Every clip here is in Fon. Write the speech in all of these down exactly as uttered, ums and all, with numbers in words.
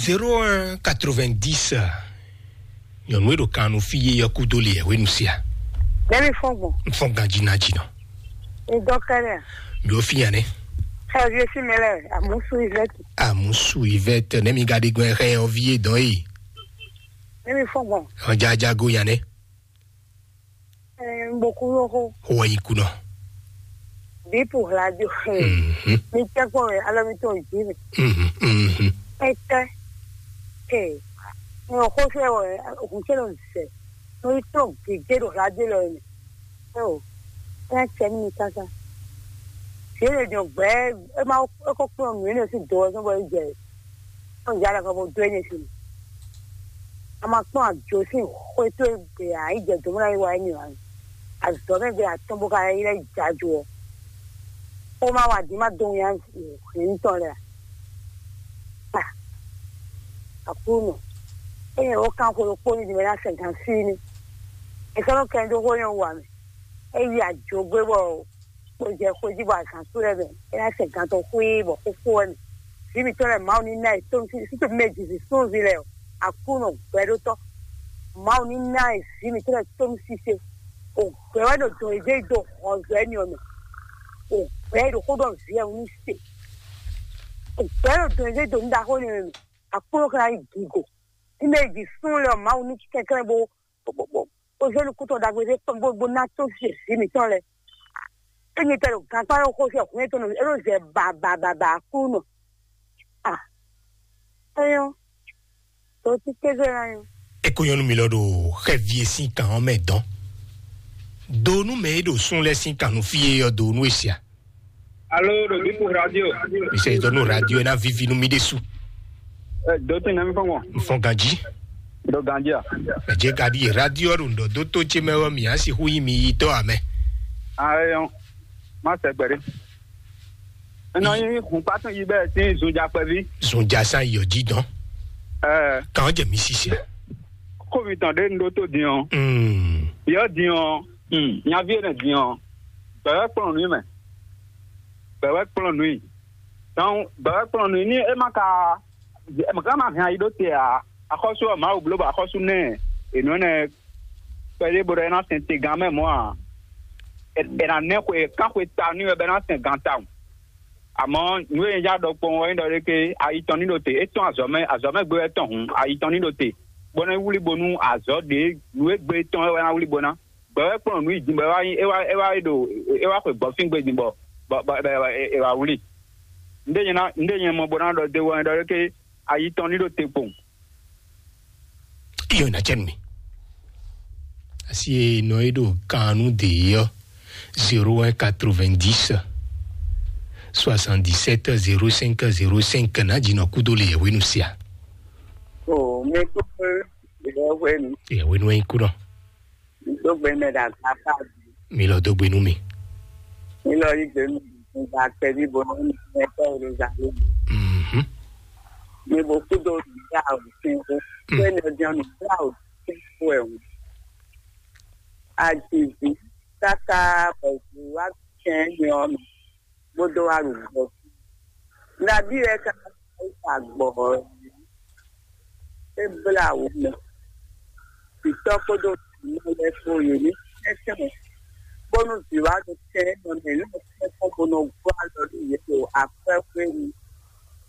Zéro un quatre-vingt-dix. Nyɔnu e ɖo kan nu fí yé ɔ́ kúdó le yɛhwenu sia. Nɛmi fɔn gbɔn. N fɔn ganji ná jinɔ. N dɔ kɛnɛ. Mi o fi yan ne. Xɛ vie si mɛ lɛ amusu ivɛti. Amusu ivɛti ne mi ga ɖi gbɛn xɛ ɔvi e dɔn yi. Nɛmi fɔn gbɔn. Ɔjajago yan ne. Ɛɛ, n bo kú lóxo. Xo wɛ yi kú nɔ. Bí po hladio. Mhm. Mi tɛ kpɔ wɛ alɔ mi tɔn jí mi. Mhm, mhm. Ɛtɛ. Ee. N xo fɛ wɛ hun tɛ nɔ zɛ. N yi tɔn gege ɖo hladio lɔ mi. Ɛɛ o. Ɛɛ cɛ mi kaka. Fi e jɔ gbɛ e ma e ko kplɔn nǔ e ne si do ɔ́ sɔn bɔ e jɛ. Ɔn ja la ka bo dó e ne si. A ma kpɔn ajo sín xwé tó e gbe a yi jɛ dǒ mɔ ná yi wa émí ǎ. Azɔ̌ mɛ gbe atɔ́n bó ka yi lɛ́ jajo ɔ́. Xó ma wa din ma dó nya hɛn tɔn lɛ a? Aklúnɔ, ényí wǒ kan xwe ɖokpó ní din mɛ ná sɛn gan sí ní. È sɔ́ nɔ kɛn dó xó nyɔ́ wa mɛ. É yi ajo gbé bɔ kpo jɛ xwé jí bɔ azǎn sú lɛ́ɛ mɛ, é ná sɛn gan tɔn xwíí bɔ xóxó wɛ mɛ. Vǐ mǐtɔn lɛ́ɛ Mawu ní ná ɛ tónú sí sútú mɛ jǐ súnví lɛ́ɛ ɔ́, Aklúnɔ gbɛɖótɔ́. Mawu ní ná ɛ vǐ mǐtɔn lɛ́ɛ tónú sise. O gbɛ wɛ ɖo dɔn yě dó hɔnzɔ́ ɛ́ n'i ɔ́ mɛ. O gbɛ ɖo xó ɖɔ vǐ ɛ wú ní se. O gbɛ ɖo dɔn yě dó nǔ ɖaxó n'i ɔ́ mɛ. Aklúnɔ ka ná yi gigo. Ní mɛ jǐ sún lɛ́ɛ ɔ́, Mawu ní kɛnklɛ́n bó bó bó bó zé nukúntɔn ɖagbe ɖé kpɔ́n bó bó ná tó vǐ mǐtɔn lɛ́ɛ. Ényí tɛ ɖo gankpá ɖo xó sɛ hwlɛ́n tɔn nɔ é ɖo zɛ ba ba ba ba Aklúnɔ. A, é nyɔ́. Tó tí kéze ná nyɔ́. E ko nyɔnu mi lɔ ɖo xɛvi e sín kan ɔ́ mɛ dɔn. Do nú mɛ e ɖo sún lɛ́ɛ sín kan nú fí e ɔ́ do nú e sia. Alo ɖo Bipu radio. Mi sɛ dɔ nú radio e ná vivi nú mi ɖésú. Ɛ dó tɛn nɛmi fɔn gbɔn. N fɔn ganji. Ɖo ganji a? Mɛ jɛ ka ɖi radio ɖo ŋdɔ dó tó ce mɛ wɛ mi asi hu yi mi yi tɔ amɛ. Ayɔ, má sɛ gbɛɖe. Nɔ nyi hun kpatún yi bɛ tin zunja kpɛvi. Zunja san yɔ ji dɔn. Ɛ, Kan jɛ mi sisi. Ko mi tɔn ɖe nu ɖó tó din ɔ. Mm. Yɔ din ɔ. Mm. Nyavi ene din ɔ. Bɛwɛ kplɔn nu mɛ. Bɛwɛ kplɔn nu. Dɔn bɛwɛ kplɔn nu ni e ma ka, e ma ka ma hɛn ayi ɖó te a. Axɔ́sú ɔ Mawu bló bɔ axɔ́sú nɛ. Enú ɛnɛ kpɛɖé bó ɖɔ é ná sɛn te gán mɛ mɔ̌ ǎ. È nǎ nɛ́ xwe kán xwe ta n'i wɛ bɔ é ná sɛn gan tawun. Amɔ̌ nǔ e nyɛ já ɖɔ kpɔ́n ɔ́ nyí ɖɔ ɖé ké ayi tɔn ní ɖo te, é tɔ́n azɔ̌ mɛ, azɔ̌ mɛ gbé wɛ tɔn hǔn, ayi tɔn ní ɖo te, bó ná wlí bónú azɔ̌ ɖě nǔ e gbé tɔn wɛ ná wlí bó ná. Gbɛ wɛ kplɔ́n nǔ yi din bɔ é wá nyí é wá é wá ɖo é wá xwe gbɔ̌fín gbe din bɔ bɔ bɔ è wá wlí. Nǔɖé nyɛ ná nǔɖé nyɛ mɔ bó ná ɖɔ dó wɛ nyí ɖɔ ɖé ké ayi tɔn ní ɖo te kpowun. Iyo na cɛn mi. Asi e nɔ e ɖo kan nu de ɔ, zéro un quatre-vingt-dix soixante-dix-sept zéro cinq zéro cinq na dzi nɔ kudo le yɛhwenu sia. O mi kúkú yɛhwenu. Yɛhwenu e kú nɔ. Dó gbe mɛ ɖo agbafa jí. Mi lɔ dó gbe nú mi. Mi lɔ yí gbe nú mi gba kpɛví bo nɔ mi mɛ tɔ Yeruzalɛmu. Mhm. Mi bo kúdo ɖa òfin xó. Mm. Kpɛ́ nɔ jɛn nǔ ɖa òfin xó ɛ hǔn. Ajivi káká bɔ vǐ wá kɛn nyɔ mi. Bó dó wá ɖo gbɔ. Nabí wɛ ka sa gbɔ ɔ́? É blá wǔ mɛ. Vǐtɔ́ kpódó vǐnɔ lɛ́ɛ kpó yě ní tɛ́ntin, bónú vǐ wá ɖo tɛn nɔ mɛ ní tɛ́nkpɔ́n bó nɔ gɔ́ alɔ nú yě ɖo akwɛ́ xwé nu.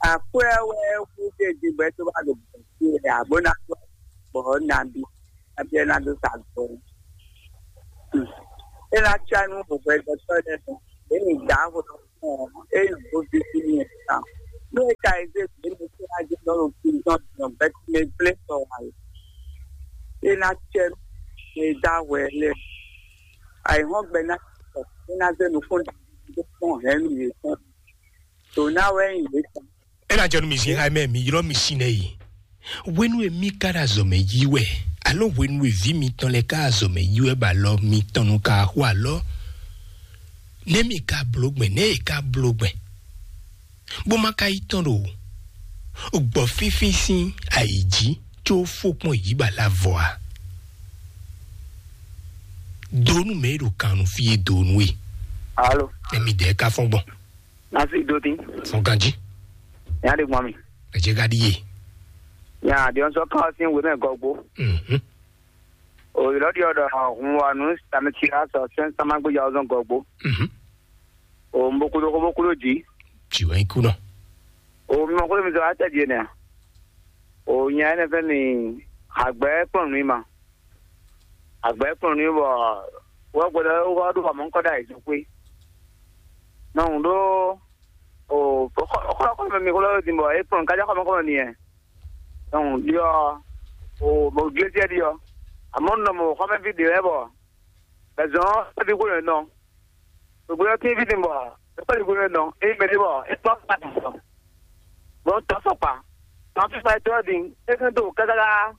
Akwɛ́ wɛ hú ɖé din bɔ é dó wá ɖo gbɔ̌ fí wɛ ǎ, bó ná dó gbɔ̌ nabí, nabí ɔ́ ná dó sa gbɔ̌. É ná cá nú hwɛɖɔtɔ́ lɛ́ɛ mɛ, yě ní dǎ hwɛɖɔ. Ɔ́, ényí wǒ víví n'i ɛ tawun. Nú é ka yi zé vǐ mɛ sín ají nɔ ɖo prison din ɔ́, gbɛtɔ́ mɛ gblé sɔ wǎ é. É ná cɛ nú mɛ e dó ahwɛ lɛ́ɛ. Ayǐhɔ́ngbe ná sɔ, é ná zé nukún ɖagbe dó kpɔ́n hɛ̌nnu yětɔn. Dǒ ná wɛ nyí yě tɔn. É ná jɛ nú mi sin xá mɛ mi ylɔ́ mi sin nɛ yi. Hwenu e mi ka ɖo azɔ̌ mɛ yi wɛ, alo hwenu e vǐ mitɔn lɛ́ɛ ka ɖo azɔ̌ mɛ yi wɛ bɔ alɔ mitɔn nu ka xo alɔ, nɛ̌ mi ka bló gbɛn, nɛ̌ e ka bló gbɛn, bó ma ka yi tɔn ɖo gbɔ̌ fínfín sín ayǐ jí có fó kpɔ́n yǐ ba la vɔ a? Donu mɛ e ɖo kan nu fí e donu e. Alo. Nɛ mi dɛ ka fɔn gbɔn. Nasi do tin. Fɔn ganji. Nya de gbɔn mi. Ɛ jɛ ka ɖi ye. Nya ɖiɔnsɔ kan ɔ́ sín wěmɛ gɔgbo. Mhm. O ylɔ́ ɖiɔ ɖɔ hun wa nǔ sami ci la sɔ sɛn sama gbéjà ɔ́ zɔn gɔgbo. Mhm. O un bo kúdó xó bó kúdó jǐ. Jǐ wɛ nyí kú nɔ. O mi mɔ xó mi zɔ atɛ jǐ nɛ́. O nya énɛ́ fɛ́ mi agbɛ̌ kplɔ́n nǔ ma. Agbɛ̌ kplɔ́n nǔ bɔ wɔ gbɔdɔ wɔ ɖo xɔ mɔ kɔ ɖo ayǐ zɔn xwé. Nɔ un ɖó o xɔ xɔ mɛ mi xó lɔ din bɔ é kplɔ́n kájá xɔ mɔ kɔ mɛ mi yɛ. Donc ɖiɔ o bɔ glesiɛ ɖiɔ. Amɔ nɔ mɔ xɔmɛvi ɖe lɛ bɔ bɛzɔn ɛvi ko nɔ. Gbogbo yɔ tin vi din bɔ ɛkpɛ ɖi ko nɔ. Eyi mɛ ɖe bɔ ekpɔ pa ti sɔ. Bon tɔ sɔkpa. Tɔ fi fa tɔ din. Ekan to kaka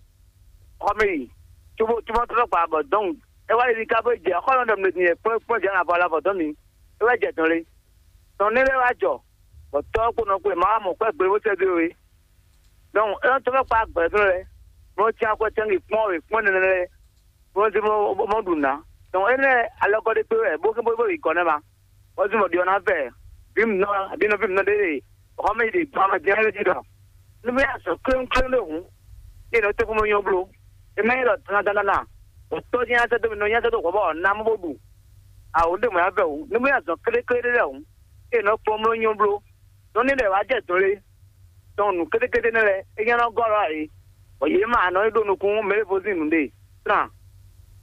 xɔmɛ yi. Tubo tubo tɔ sɔkpa bɔ donc e wa yi ka bo jɛ xɔlɔ dɔ mɛ din kpɔn kpɔn jɛ na bɔ la bɔ dɔn mi. E wa jɛ dɔn le. Tɔn ne lɛ wa jɔ. Bɔ tɔ kpo nɔ kpo ma wa mɔ kpɛ gbe wo sɛ do we. Donc é nɔ tɔ́ kpa gbɛ̌ tɔn lɛ́ɛ, bó nɔ́ cyán akwɛ́ tɛ́nwe kpɔ́n wě kpɔ́n nɛnɛ lɛ́ɛ, bó nɔ́ zé bó bó nɔ́ ɖu nǔ ná. Donc énɛ́ alɔgɔ́ ɖé kpé wɛ bó bó bó yi gɔ̌ ná ma. Bó zé mɔ ɖi ɔ́ ná vɛ vǐ mǐnɔ abǐ nɔví mǐnɔ ɖé ɖe xɔmɛ yi ɖe gbɔn amɛ jɛ́n lɛ́ɛ jí ɖɔ nú mì azɔ̌ kléwúnkléwún ɖé hǔn, é nɔ tɛ́nkpɔ́n mɔ nyɔ́ bló. É má nyí ɖɔ dandandandan, bɔ tɔ́ jɛ́n ná sɛ́ dó mì nɔ nyá sɛ́ dó hǔn bɔ ná mɔ bó ɖu. Awǒ ɖé mɔ̌ yá vɛ hǔn, nú mì azɔ̌ kléklé ɖé lɛ́ɛ hǔn, é nɔ kpɔ́n mɔ nyɔ́ bló. Nɔ ní lɛ́ wá jɛ dɔn lé, tɔn nǔ kétékété nɛ́ lɛ́ɛ, é nyá nɔ gɔ́ lɔ ǎ é. Bɔ yě mɛ anɔ e ɖo nukún mɛ e vo sín nǔɖé, trán,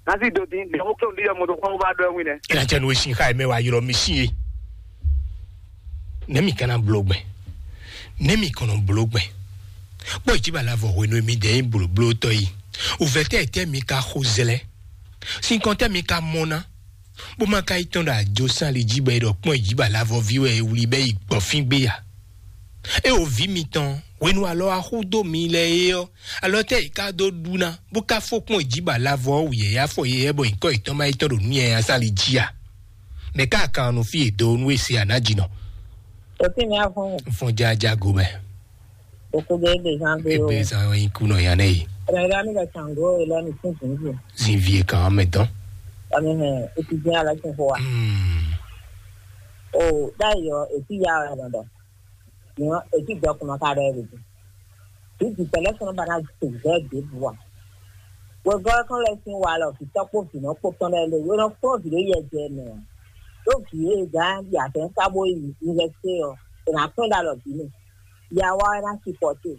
ná sí do dín, ɖě xó kéwú ɖi yɔ moto kpɔ́n bó bá ɖɔ ɛ wín nɛ́. É ná cɛ nú e sin xá e mɛ wá ylɔ́ mì sín é. Nɛ̌ mì ka ná bló gbɛn? Nɛ̌ mì kɔn nɔ bló gbɛn? Kpɔ́ ìjíba lɛ́ɛ vɔ hwenu e mi dɛ nyí blǒblótɔ́ yi. Wǔvɛ́ tɛ́ tɛ́ mi ka xo zlɛ́? Sinkɔn tɛ́ mi ka mɔ ná? Bó ma ka yi tɔn ɖo ajo sín ali jí bɔ è ɖɔ kpɔ́n ìjíba lɛ́ɛ vɔ ví wɛ è wlí bɛ́ yi gbɔ̌fín gbé a? É o vǐ mitɔn, hwenu alɔ axú dó mi lɛ é ɔ́, alɔ tɛ́ è ka dó ɖu ná, bó ka fó kpɔ́n ìjíba lɛ́ɛ vɔ ɔ́ wǔ yɛ̌yɛ́ afɔ yɛ̌yɛ́ bɔ nyǐkɔ yětɔn ma yi tɔn ɖo nǔ nyanya sín ali jí a? Mɛ̌ ka kan nɔ fí e do nú e se a nǎ jǐ nɔ? Òtí mi á fún un. Fún jájá go mɛ. Òkú dé gbè zán gbé o. Ebe zan yin kú nɔ yan nɛ yi. Ẹ̀rọ ìlú àmì lọ sàn gó ìlú àmì fún zùnzù. Zin vie kan mɛ dɔn. Àmì hẹ̀, ètí jẹ́ aláṣẹ fún wa. Hmm. O, dáìyọ, ètí ya ọ̀rẹ́ dọ̀dọ̀. Ìyàn, ètí ìjọkùnrin ká rẹ̀ rèé. Ìdí pẹ̀lẹ́ sọ̀rọ̀ bá náà ti tẹ̀ bẹ́ẹ̀ dé bu wa. Wegɔ́ kán lɛ sín wa lɔ vǐ tɔ́ kpó vǐ nɔ kpó tɔn lɛ́ɛ lé wé nɔ kplɔ́n vǐ ɖé yɛ jɛ mɛ ɔ́. Ɖó vǐ e gǎn yi azɔ̌ ká bó yi yunivɛsité ɔ́, è nǎ kpɛ́n ɖo alɔ vǐ mɛ. Ya wá wɛ ná sipɔ́te.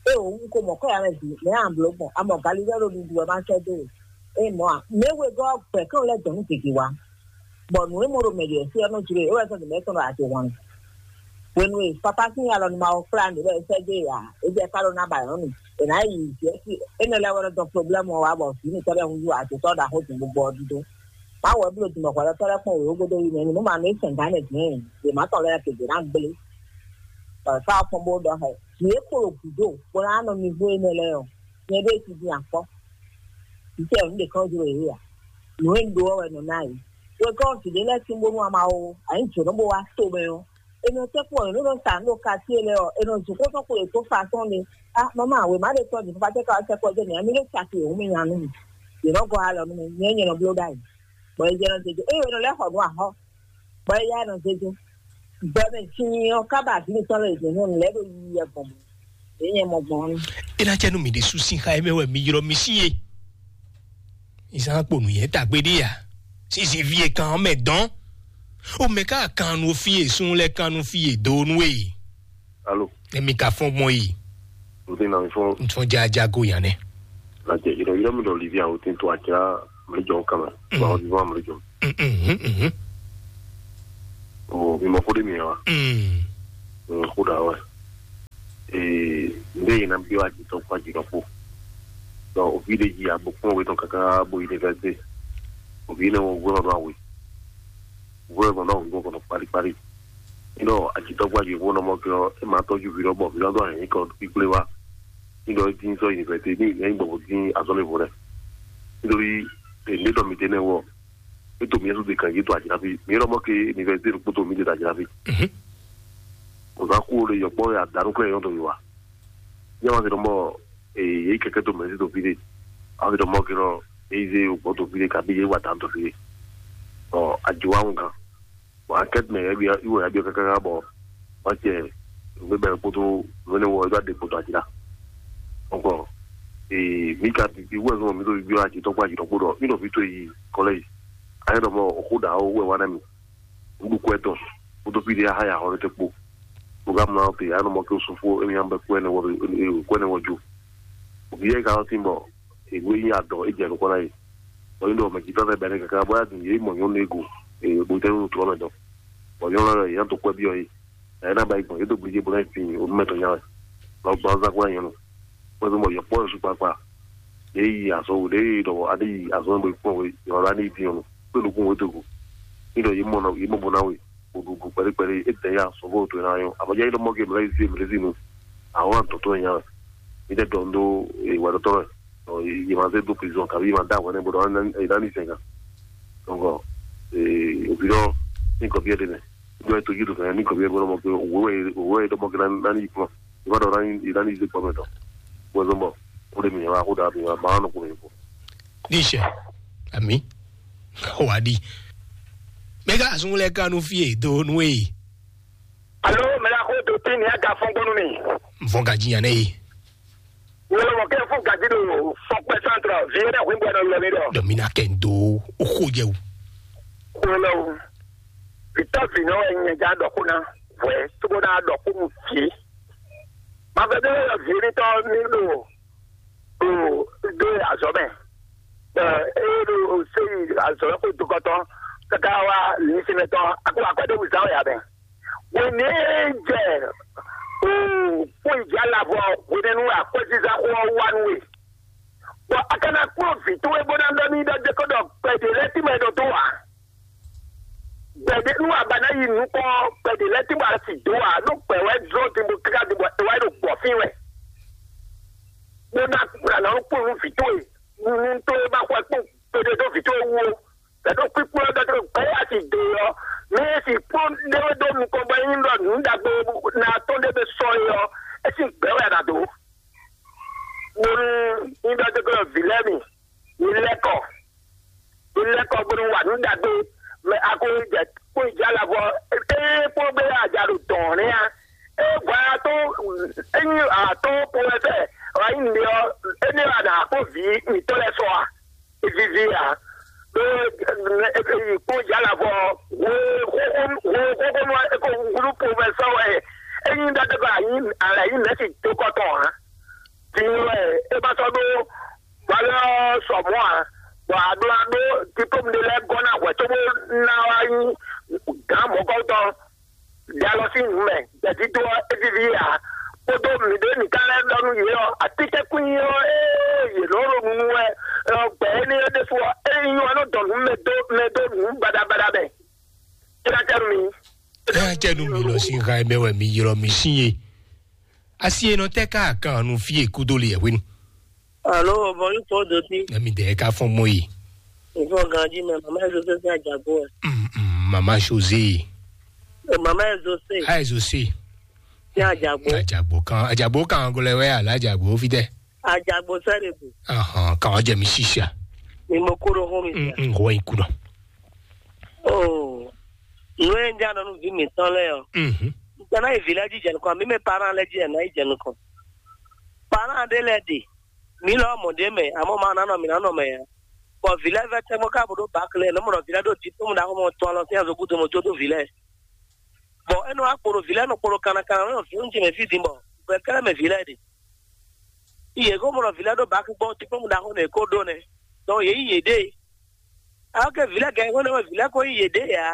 Ée wǒ un ko mɔ kɔ́ ya mɛ vǐ, mɛ̌ a blǒ gbɔn? A mɔ galilɛ́ ɖo ɖuɖu wɛ má sɛ́ dó we. Ée mɔ̌ a, mɛ wegɔ́ gbɛ̌ kán lɛ́ dɔn nú gěgé wá. Bɔ nǔ e mɔ ɖo mɛ ɖě ɔ́ sí ɔ́ nɔ jló e, é wɛ sɔ́ nǔ mɛ tɔn ɖo ate hwan. Hwenu e Fafá sín alɔ nú Mawu kplá mǐ bɔ é sɛ́ dó e ǎ, é jɛ ká ɖó ná ba nyɔ̌nu mì. È nǎ yi Jɛ̌si énɛ́ lɛ́ɛ wɛ nɔ dɔn problɛ́mu ɔ́ wá bɔ vǐ mǐtɔn lɛ́ɛ húzú ado sɔ́ ɖaxó din gbogbo ɔ́ dídó. Má wǔ wɛ bló dun bɔ hwɛɖɔtɔ́ lɛ́ɛ kpɔ́n wěwé gúdo yi mɛ nú má mɛ sɛn gǎn lɛ́ɛ dǐn, yě má tɔn lɛ́ɛ kegě ná gblé. Bɔ è fá ɔ́ kpɔ́n bó ɖɔ xɛ. Vǐ e kpo ɖo gǔdo bó ná nɔ mi hú énɛ́ lɛ́ɛ ɔ́, nyɛ ɖée cí dín akpɔ́. Vǐ ce ɔ́, nǔ ɖě kɔn jló yě ǎ. Nǔ e un ɖó ɔ́ wɛ nɔ ná yě. Wegɔ́ vǐ ɖé lɛ́ɛ sín bónú ama ó, a nyǐ jǒnɔ bó wá to mɛ ɔ́, è nɔ tɛ́ kpɔ́n yě nú nɔ sa nǔ ɖo katíe lɛ́ɛ ɔ́, è nɔ zun xó tɔn xwe yě tó fa tɔn ɖe. Á, mama, wěma ɖé tɔn din fífá tɛ́ ka wá sɛ́ kɔ jɛ mǐ, a mi ɖó caki wěwú mì nya nú mì. Yě nɔ gɔ́ alɔ nú mì, nyɛ nyɛ nɔ bló ɖ'ayǐ. Bɔ è jɛ nɔ zé jó. Ée è nɔ lɛ́ xɔ nǔ axɔ́, bɔ é yá nɔ zé jó. Gbɔ mɛ sin ɔ́ ká ba vǐ mǐtɔn lɛ́ɛ zě nɔ lɛ́ ɖo yiyi wɛ gbɔn mɔ̌. Yě nyɛ mɔ gbɔn ɔ́. É ná cɛ nú mì ɖésú sín xá e mɛ wɛ mi ylɔ́ mì sí e. Ìsán kpo nǔnyɛ tagbe ɖé ya. Sísí fí e kan ɔ́ mɛ dɔn. O mɛ ká kan nu fí e sun lɛ kan nu fí e do nu e. Alo. Emi ka fɔn gbɔn yi. N ti na mi fɔn. N fɔn jaja go yan nɛ. Lajɛ yɔrɔ yɔrɔ mi dɔ livi awo tin to atsira mi jɔ kama. Mm. Ba o ti fɔn mi jɔ. Mhm, mhm. O mi mɔ ko de mi wa. Mm. Mm, ko da wa. Ee, n bɛ yina bi wa jitɔ kpa jitɔ kpo. Donc o vi de ji abo kpɔn wetɔ kaka bo université. O vi ne wo gbɔ do awe. Wo gbɔ do awe gbɔ kɔnɔ kpali kpali. Nɔ ajitɔ kpa ji wo nɔ mɔ kɛ e ma tɔju vi dɔ bɔ vi dɔ do ayi kɔ kpikple wa. Nɔ e din sɔ université ni yɛn gbɔ bo din azɔn le vo dɛ. Nítorí èmi dɔ mi tɛ nɛ wɔ. E to mi yɛn so de kan yi to ajina fi. Mi yɛrɛ mɔ ke université kpoto mi de ajina fi. Mhm. O sa ku o le yɔkpɔ ya danu kle yɔn to yi wa. Nyɛ ma se dɔ mɔ e ye kɛkɛ to mɛ si to fi de. A se dɔ mɔ ke nɔ e ze o gbɔ to fi de kabi ye wa dan to fi de. Ɔ ajo wa ŋu kan. Bɔn akɛti mɛ yɛ bi iwɔ ya bi kaka bɔ wa cɛ. N bɛ kpoto wɛnɛ wɔ e do ade kpoto ajina. Donc, ee, mǐ ka bibi wɛ zɔn mǐ ɖo bibi ɔ́ ajitɔ́ kpó ajitɔ́ kpó ɖɔ mǐ ɖɔ vǐ towe yi kɔlɛ́ji. Ayé ɖɔ mɔ xó ɖa ó wɛ wá ná mì. Nǔɖuɖu kwɛ tɔn kódó fí ɖé ahá ya xɔ ɖé tɛ́ kpó. Bó ka mlá ɔ́ te, ayé ɖɔ mɔ kí ó sú fó émi nya bɛ kwɛ nɛ wɔ kwɛ nɛ wɔ jó. Vǐ yɛ ka ɔ́ tín bɔ èwú e nyí adɔ é jɛ nukɔn ná yi. Bɔ yín ɖɔ mɛ jǐtɔ́ lɛ́ɛ bɛ́ nɛ káká bó yá dun yě mɔ nyɔ̌nu e go, ee, bó tɛ́ nú trɔ́ mɛ dɔn. Bɔ nyɔ̌nu lɛ́ɛ yě ná dó kwɛ́ byɔ́ yí. Ɛ ná ba yi gbɔn yě dó gblijé bó ná yi fin o mɛ tɔn nya wɛ. Lɔ gbɔn azán kó anyɔ́nɔ. Wọ́n fi mɔ yɔkpɔ́ yɔ sukpakpa. Ɖě yi azɔn wò ɖě yi ɖɔ a ɖě yi azɔn bó kpɔ́n wé yɔ la ní yi din ɔnɔ. Kpé nukún wé do go. Ní ɖɔ yě mɔ nɔ yě mɔ bó ná wé. Bó ɖu bó kpɛɖé kpɛɖé é tɛ ya sɔgɔ to ná yɔ. Abɔjá yi ɖɔ mɔ ke mɛ yi zé mɛ zinu. Àwọn àtɔ̀tọ̀ yẹn nya wɛ. Ní tɛ dɔn dó wà dɔtɔrɔ. Yě ma zé dó prison kàbí yě ma dá àwọn ẹni bó dɔn ẹ dání sẹ̀gà. Donc, òbí dɔ ní kɔ̀bí ẹ̀ dé nɛ. Dɔ ẹ̀ tójú tó fẹ́ ní kɔ̀bí ẹ̀ bó lọ́mọ pé òwò ẹ̀ òwò ẹ̀ dọ́mọ kí ná ní yìí kúrò. Ìbá dọ̀ ná ní ìdá ní ìdí pọ̀ mẹ́tọ̀. Wọ́n zọ́ bọ̀ ó lè mìíràn wá kó dàbí wá bá wọn kò yìnbó. Ní ìṣe àmì wà á di. Mẹ́gà àsúnwó lẹ́ kánú fí èdò nú èyí. Alo, mɛ la xo to tin ni aga fɔn gbɔnu mi. Nfɔn gaji yan ne yi. Wolo mo ke fu gaji do fɔkpɛ santra vie na hu gbɛ no lo mi do. Dɔ mi na kɛ n do o xo jɛ o. Wolo. Vitɔ vi no e nye ja dɔ ko na. Vwe to ko na dɔ ko mu fi. Ma vɛ de lo vi ni to mi do. O do azɔ mɛ. Eh, e do o se azɔ ko do ko to. Kaka wa ni si mɛ to. Ako akɔ de wuzan ya mɛ. Wěnú e jɛ kpó ìjà lavɔ hwenɛ́nu akwɛ́zízá xó ɔ́ wá nú we. Bɔ a ka ná kplɔ́n vǐ towe bó ná ɖɔ n'i ɖɔ dé ko ɖɔ gbɛ̌ ɖě lɛ́ɛ tín bɔ è ɖo dó ǎ. Gbɛ̌ ɖě nú a ba ná yi nukɔn ɔ́, gbɛ̌ ɖě lɛ́ɛ tín bɔ a sì dó ǎ, ɖó gbɛ̌ wɛ jló din bó káká din bɔ è wá yi ɖo gbɔ̌ fín wɛ. Bó ná kplɔ́n nǔ kplɔ́n nú vǐ towe, nú towe ma xwɛ kpɔ́n gbeɖé dó vǐ towe wú ó. Bɛ̌ ɖo kpíkplɔ́ dɔ́ tó gbɛ́ asi do ɔ́, mɛ e si kpɔ́n ɖé wɛ dó nukɔn bɔ nyí ɖɔ nǔ ɖagbe ná tɔn ɖé bɛ sɔ é ɔ́, é sín gbɛ́ wɛ a nǎ dó. Bónú nyí ɖɔ dó gbɛ́ vǐ lɛ́ɛ mi, mi lɛ́ kɔ, mi lɛ́ kɔ bónú wa nǔ ɖagbe, mɛ a ko jɛ kpó yi jɛ alavɔ, ée kpó gbé aja ɖo dɔ̌n nɛ́ a. É vɔ a tó, é nyí atɔ́ ko wɛ fɛ, wǎ nyí nǔɖé ɔ́, énɛ́ wɛ a nǎ kpó vǐ mǐtɔn lɛ́ɛ sɔ a? Vivi ǎ. Ɖó e yi kpɔ́n jǎ la vɔ hwe xóxó hwe xóxó nɔ e ko wúlú po mɛ sɔ́ wɛ. Ényí ɖɔ ɖe bɔ a yǐ a lɛ yǐ mɛ̌si dó kɔ tɔn ǎ. Din wɛ é ma sɔ́ ɖó valeur sɔ mɔ̌ ǎ. Bɔ a ɖó a ɖó diplôme ɖé lɛ́ɛ gɔ́ ná hwɛ̌ cóbó ná wá nyí gǎn mɔ̌kɔ́tɔn. Ɖe alɔ sín nǔ mɛ, gbɛ̌dídó ɔ́, é víví ǎ. Kpódó mǐɖée mǐ ka lɛ́ ɖɔ nú yě ɔ́, atínkɛ́nkwín ɔ́, ée yě nɔ ɖo nunu wɛ, ɔ, gbɛ̌ énɛ́ ɔ́ ɖésú ɔ́, é nyí ɔ́ nɔ dɔn nǔ mɛ dó mɛ dó nǔ baɖabaɖa mɛ. É ná tɛ́ nú mi. É ná tɛ́ nú mi lɔ sín ha e mɛ wɛ mi ylɔ́ mi sín e. Asi e nɔ tɛ́ ká kan nú fí e kúdó le yɛ hwenu. Alo, bɔn yóò tɔ dɔ sí. Ɛmi dɛ ka fɔn mɔ yi. Nǹkan ganji mɛ, màmá ẹ̀ zọ́sẹ́ sí àjàgbó ẹ̀. Mm, mm, mama José. Ẹ, màmá ẹ̀ zọ́sẹ́ Ayi José. Sí àjàgbó. Ajagbo kan ajagbo kan gɔlɛ wɛ ala ajagbo fi tɛ. Àjàgbó sẹ́rẹ̀ bù. Ahan kan ɔjɛ mi sisa. Ni mo kúrò hún mi Mm, sẹ́. Mm, wɔ iku nɔ. Oh, ìwé ń jáde nínú bí mi tán lẹ́yọ̀. Mhm. Ìtàn náà ìfìlẹ́ jíjẹ nìkan, mi mi parán lẹ́jí ẹ̀ náà ìjẹ nìkan. Parán adé lẹ́ dì. Mi lọ mọ̀ dé mẹ́, àmọ́ máa nánà mi nánà mẹ́ yẹn. Bɔ vǐ lɛ́ɛ vɛ́ tɛ́ngbɔ́ ká bó ɖó bǎkle, nɔ́ mɔ ɖɔ vǐ lɛ́ɛ ɖo diplôme ɖaxó mɔ tɔn alɔ sín azɔ̌ gúdo mɔ jó dó vǐ lɛ́ɛ. Bɔ é nɔ wá kpo ɖo vǐ lɛ́ɛ nɔ kpo ɖo kanna kanna nɔ vǐ ŋutsu mɛ fí din bɔ gbɛ kɛ́lɛ́ mɛ vǐ lɛ́ɛ ɖe. Yě ko mɔ ɖɔ vǐ lɛ́ɛ ɖó bǎkle gbɔn diplôme ɖaxó nɔ è ko ɖó nɛ́. Dɔn yě yi yěɖée. Alɔ ke vǐ lɛ́ɛ gɛ́ xó nɛ́ wɛ vǐ lɛ́ɛ ko yi yěɖée ǎ.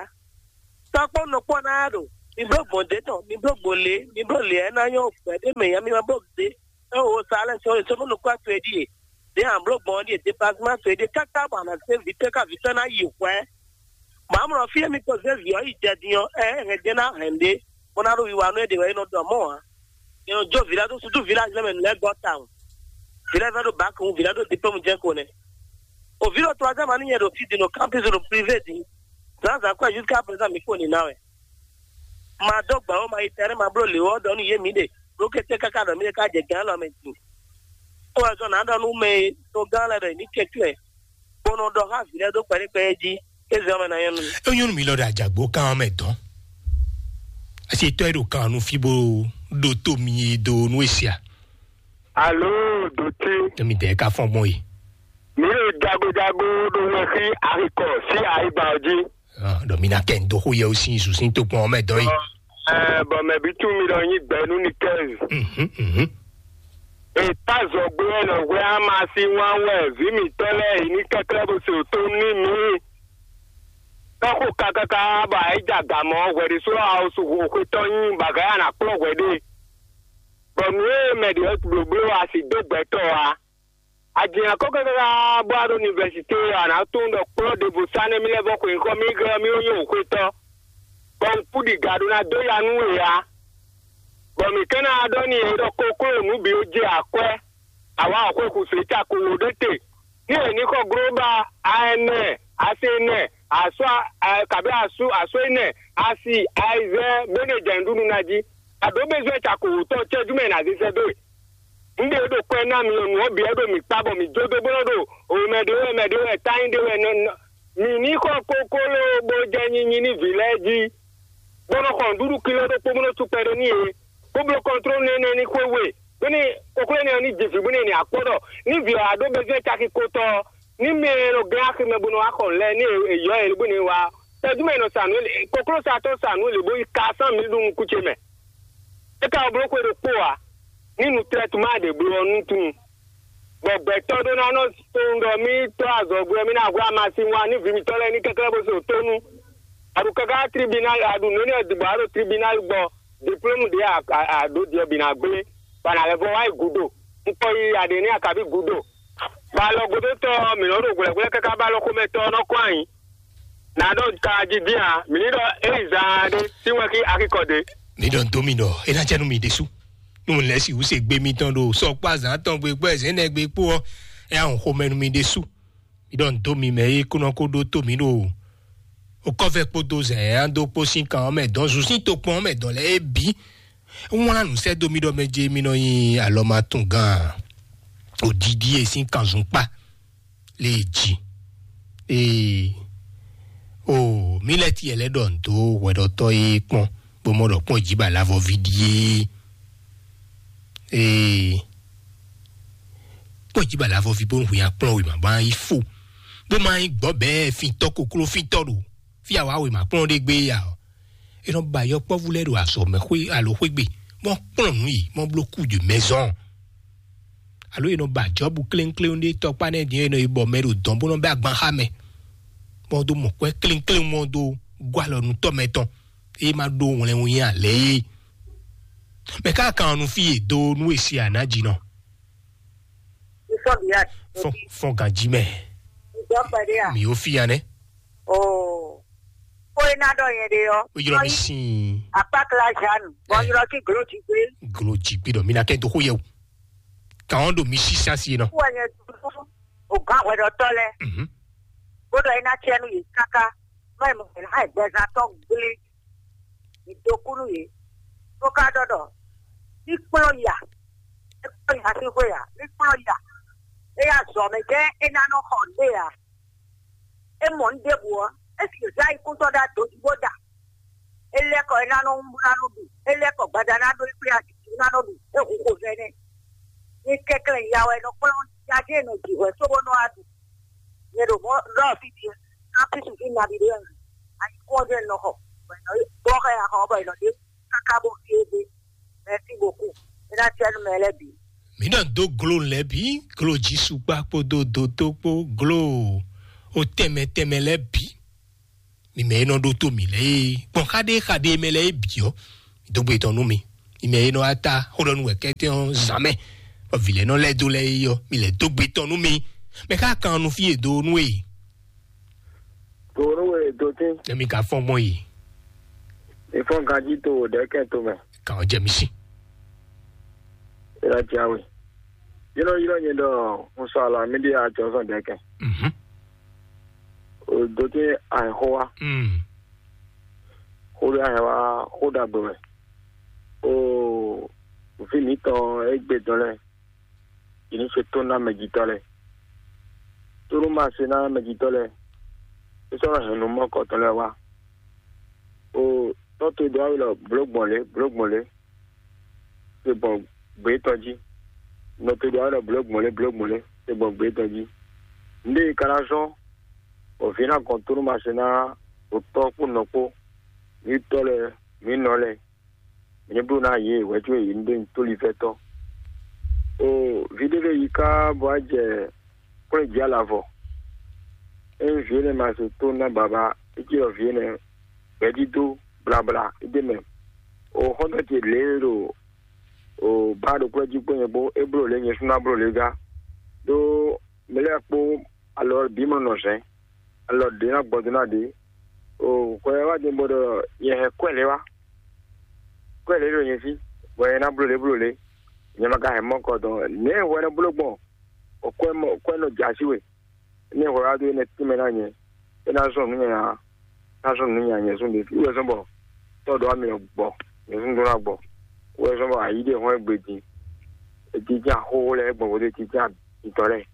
Tɔ́kpɔ́ nukpɔ́ ná ɖo, mi bló gbɔn dě tɔn, mi bló gbɔn lě, mi bló lě ɛ ná nyɔ́ gbɛ̌ ɖé mɛ nya mi ma bló dě. É wo sa lɛ́ sɔ́ sɔ́ nukpɔ́ towe ɖíe. Dě an bló gbɔn ɖíe, déplacement towe ɖíe, káká bɔ a nǎ zé vǐtɔ́ ká vǐtɔ́ ná yi hwɛ̌. Bɔ amlɔ fí e mi ko zé vǐ ɔ́ yi jɛ din ɔ́, ɛ hɛn jɛ ná hɛn ɖě, bó ná ɖo wiwa nú é ɖe wɛ é nɔ ɖɔ mɔ̌ ǎ. È nɔ jó vǐ lɛ́ɛ dó susu village lɛ́ɛ mɛ nǔ lɛ́ɛ gɔ́ tawun. Vǐ lɛ́ɛ vɛ́ ɖo bǎk wú, vǐ lɛ́ɛ ɖo diplôme jɛ́n ko nɛ́. O vǐ ɖo troisième année nyɛ ɖo fí din ɖo campus ɖo privé din. Zǎnzǎn kɔ́ jusqu'à présent mi kpo nǐ ná wɛ. Ma dó gbǎ ó, ma yi tɛ́nɛ́ ma bló lě ɔ́ ɖɔ nú yě mǐ ɖe, ɖó kété káká ɖɔ mǐ ɖe ká jɛ gǎn lɔ mɛ din. Ó wɛ zɔn nǎ ɖɔ nú mɛ e togán lɛ́ɛ ɖɔ yě ní kɛ́ cyɔ ɛ, bó nɔ ɖɔ xá vǐ lɛ́ɛ dó kpɛɖé kpɛɖé jí, é zɛ ɔ́ mɛ ná nyɔ́ nú mi. É nyɔ́ nú mi lɔ ɖo ajǎgbó kan ɔ́ mɛ dɔn. Asi tɔ́ e ɖo kan ɔ́ nú fí bó ɖo tó mi e dó nú e sia. Alo, dotí. Tɔmi dɛ ka fɔn gbɔn yi. Mi ɖo jagojago ɖo wɛ xí axikɔ sí ayiba ɔ jí. Ɖɔ mi na kɛ ndo xó yɛ o sin zu sin to gbɔn ɔmɛ dɔ yi. Ɛ, bɔ mɛ bi tún mi ɖɔ nyi gbɛ nú ni kɛz. Mhm, mhm. Eta zɔgbe wɛ nɔ hwɛ ama si wan wɛ vi mi tɔ lɛ yi ní kɛklɛ bo se to ní mi. Tɔxo kakaka bɔ ayi ja gamɔ hwɛ ɖe so awo su xo xwetɔ nyi bagaya na kplɔ hwɛ ɖe. Bɔ nǔ e mɛ ɖě ɔ́ blǒbló a sì dó gbɛtɔ́ ǎ. A jɛ akɔ́ káká bó wá ɖo univɛsité ɔ́, a nǎ tunwun ɖɔ kplɔ́ ɖěvo sá nɛ́ mì lɛ́ vɔ́ xwe xɔ mì gɔ́ mì ó nyí xwetɔ́, bɔ un kú ɖi ga ɖó ná dó ya nú we ǎ. Bɔ mǐ ka ná ɖɔ n'i ɖɔ kokló nǔ bǐ ó jɛ akwɛ́, awǎ ɔ́ xwe xu sě cako wǒ ɖé te. Ní è ní xɔ glóbá a ɛnɛ, a se ɛnɛ, a sɔ́ a kabí a sú a sɔ́ ɛnɛ, a si a yi zɛ bó nɛ jɛ nǔɖuɖu ná jí. A ɖǒ bezwɛ́ cako wǒtɔn cɛ́jú mɛ è nǎ zé sɛ́ dó e. Un ɖe ɖo kwɛ ná mi ɔ́, nǔ ɔ́ bǐ wɛ ɖo mǐ kpá bɔ mǐ jó dó bó nɔ́ ɖo mɛ ɖé wɛ mɛ ɖé wɛ tányi ɖé wɛ nɔ nɔ. Mǐ ní xɔ kokló bó jɛ nyinyi ní vǐ lɛ́ɛ jí, bó nɔ́ xɔ nǔɖuɖu kiló ɖokpó bó nɔ́ sú kpɛɖé n'i é, bó bló kɔntlónu énɛ́ ní xwé we, bónú kokló énɛ́ ɔ́ ní ji vǐ bónú è nǐ akpɔ́ ɖɔ ní vǐ ɔ́ wá ɖó bezwɛ́n caki ko tɔn ɔ́, ní mɛ e nɔ gɛ́n aximɛ bó nɔ wá xɔ nǔ lɛ́ɛ ní è yɔ́ ɛ bónú è wá ɔ́, tɛ́jú mɛ è nɔ sa nǔ é, kokló sa tɔn sa nǔ é lě bó yi ka sán mǐ ɖu nukún ce mɛ. É ka wá bló xwe ɖokpó ǎ, ní nu tlɛ́tuma ɖě bló ɔ́ nú tunwun. Bɔ gbɛtɔ́ ɖó ná nɔ tunwun ɖɔ mì tɔ́ azɔ̌gbé ɔ́, mì ná hwɛ amasin wá ní vǐ mǐtɔn lɛ́ɛ ní kɛ́klɛ́ bó se wǒ tónú. A ɖo káká tribunal, a ɖo nǔ énɛ́ ɔ́ ɖi bɔ a ɖo tribunal gbɔ, diplôme ɖě a ɖǒ ɖi ɔ́ bǐ ná gblé, bɔ a nǎ lɛ́ vɔ wá yi gǔdo. Un kɔ yi aɖě ní akaví gǔdo. Bɔ alɔgúdótɔ́ ɔ́, mǐ nɔ́ ɖo hwlɛ̌hwlɛ́ káká bɔ alɔxomɛtɔ́ ɔ́ nɔ kɔn ayǐ. Nǎ ɖɔ ka jí dín ǎ, mǐ ní ɖɔ é yi zaan ɖé sín wɛn xí akikɔ ɖě. Mǐ ɖɔ dó mi ɖɔ é ná jɛ nú mi ɖésú. Nú un lɛ́ sixú se gbé mitɔn ɖo sɔkpó azǎn tɔn gbe kpó ɛzɛ̌nɛgbe kpó ɔ́, é ná hun xomɛ nú mi ɖésú. Mi ɖɔ nǔ dó mi mɛ e kúnɔ kó ɖótó mǐ ɖo okɔ́vɛ́ kpódó zɛ̌n e ná dó kpó sín kan ɔ́ mɛ dɔn, zun sín tokpɔn ɔ́ mɛ dɔn lɛ́ɛ é bǐ. É wlán nǔ sɛ́ dó mì ɖɔ mɛ ce mi nɔ nyi alɔmatungán odidi e sín kanzun kpá lě e jí. Ee, o mǐ lɛ́ tiɛ lɛ́ ɖɔ nǔ dó hwɛɖɔtɔ́ e kpɔ́n bó mɔ ɖɔ kpɔ́n jí ba lavɔví ɖíe. Ee, kpɔ́n jí ba lavɔví bó hu nyi akplɔ́n wěma bó ná yi fo, bó ma nyí gbɔ̌ bɛɛ fintɔ́ kokló fintɔ́ ɖo fí awa wěma kplɔ́n ɖé gbé ya ɔ́. È nɔ ba yɔkpɔ́vú lɛ́ɛ ɖo azɔ̌ mɛ xwé alo xwé gbe, bó kplɔ́n nǔ yi, bó bló kú de mɛzɔn. Alo è nɔ ba Jɔbu klénkléwún ɖé tɔkpá nɛ́ din e nɔ yi bɔ mɛ ɖo dɔn bó nɔ bɛ agban xá mɛ, bó dó mɔ kwɛ́ klénkléwún ɔ́ dó gɔ́ alɔ nú tɔ́ mɛtɔn, é ma ɖó wlɛnwun nyi alɛ é. Mɛ ká kan ɔ́ nú fí e dó nú e se anǎjínɔ. Fɔn ganjí mɛ. Mǐ ó fí ya nɛ́. Ó é ná ɖɔ nyɛ ɖe ɔ́. Ó ylɔ́ mì sín. Akpákla Jeanne, bɔ ylɔ́ kí glo jí gbé. Glo jí gbé ɖɔ mi ná kɛ dó xó yɛ o. Kàn ɔ́ ɖo mi sí sásí e nɔ. Wɔ nyɛ dúró ògán hwɛɖɔtɔ́ lɛ. Mhm. Bó ɖɔ é ná tiɛ nú yě káká. Mɔ ɛ mɔ ɛ ná ɛ gbɛzán tɔn gblé. Mǐ dó kú nú yě. Bó ká ɖɔ ɖɔ ní kplɔ́n ya. É kplɔ́n ya sín xwé ǎ. Ní kplɔ́n ya. É yá zɔ mɛ jɛ́n é ná nɔ xɔ ɖé ǎ. É mɔ nǔ ɖěbǔ ɔ́, é sì zán ayikúntɔ́ ɖó adojí bó da. É lɛ́ kɔ é ná nɔ wún bó ná nɔ ɖu. É lɛ́ kɔ gbada ná ɖó é kplé azǐkú ná nɔ ɖu. É hu xovɛ́ nɛ́. Ní kɛnklɛ́n ya wɛ nɔ kplɔ́n jajɛ nɔ jǐ hwɛ cóbó nɔ wá ɖu. Nyɛ ɖo mɔ̌ ɖɔ fí din, káfíńsì fí nabí ɖé wɛ. Ayikún ɔ́ jẹ́ nɔ xɔ. Bɔ è nɔ bɔ xɛ axɔ ɔ́ bɔ è nɔ ɖe káká bó fí é gbé. Merci beaucoup. É ná tiɛ nú mɛ lɛ́ɛ bǐ. Mǐ nɔ dó glo lɛ́ɛ bǐ, glo Jisukpa kpódó dotó kpó glo o tɛnmɛ tɛnmɛ lɛ́ɛ bǐ. Mi mɛ e nɔ ɖótó mǐ lɛ́ɛ é, gbɔn xaɖé xaɖé mɛ lɛ́ɛ é bǐ ɔ́, dó gbe tɔn nú mi. Mi mɛ e nɔ wá ta xó ɖɔ nú wɛ kɛ́tɛ́ ɔ́ zǎn mɛ, bɔ vǐ lɛ́ɛ nɔ lɛ́ dó lɛ́ɛ é ɔ́, mi lɛ́ dó gbe tɔn nú mi. Mɛ ká kan nu fí e do nú e. Tòwònúwe dotí. Emi ka fɔn gbɔn yi. Ìfɔn ganjí to wò ɖɛ̌kɛn tomɛ. Kàn ɔ́ jɛ mi sí. Ìlà jǎwe. Yínɔ yínɔ nyɛ ɖɔ un sɔ alɔ amíɖí ajɔzɔn ɖɛ̌kɛn. Mhm. O dotí àìxó wa. Mm. Xó ɖé àìwá xó ɖagbe wɛ. O vǐ mǐtɔn égbé dɔn lɛ́ɛ. Yě ní se tó ná mɛjitɔ́ lɛ́ɛ. Tónú ma se ná mɛjitɔ́ lɛ́ɛ, é sɔ́ nɔ hɛn nǔ mɔkɔtɔn lɛ́ɛ wá. O tɔ́ towe ɖó awu lɔ blǒ gbɔn lě, blǒ gbɔn lě, se gbɔn gbě tɔn jí. nɔ te ɖo alɔ blǒ gbɔn lé blǒ gbɔn lé te gbɔn gbě tɔn jí. Nɖé ka ná zɔ́n bɔ vǐ ná gɔn tónú ma se ná ɖo tɔ́ kpó nɔ kpó, mǐ tɔ́ lɛ́ɛ, mǐ nɔ lɛ́ɛ, mǐ ní bló ná yě wɛ̌ có yě ní ɖó nyi tóli fɛ́tɔ́. O vǐ ɖé lɛ́ɛ yi ká bɔ á jɛ kplɔ́n jí alavɔ. Ényí vǐ énɛ́ ma se tó ná baba, é cí ɖɔ vǐ énɛ́ gbɛ̌dídó blabla é ɖ'é mɛ. O xɔ́ntɔn ce lě e ɖo o bá ɖo kplɔ́ jí kpó nyɛ kpó, é bló lě nyɛ sú ná bló lě gá. Ɖó mɛ lɛ́ɛ kpó alɔ bǐ mɔ nɔ zɛ̌n, alɔ ɖě ná gbɔ dó ná ɖě. O xɔ ɛ wá din bɔ ɖɔ nyɛ hɛn kwɛ́ lě wá, kwɛ́ lě ɖo nyɛ sí, bɔ nyɛ ná bló lě bló lě, nyɛ ma ka hɛn mɔ kɔ dɔn nɛ̌ hwɛ nɔ bló gbɔn, bɔ kwɛ́ mɔ kwɛ́ nɔ jɛ así we. Ní hwɛ wá dó énɛ́ tínmɛ ná nyɛ, é ná zɔn nǔ nyanya, ná zɔn nǔ nyanya nyɛ zɔn ɖě fí wɛ zɔn bɔ tɔ́ ɖɔ amì gbɔ, nyɛ zɔn ɖó ná gbɔ. Wɛ zɔn bɔ ayǐ ɖe hɔn égbé din, etí ján xóxó lɛ́ɛ gbɔn bó dé etí ján abitɔ lɛ́ɛ.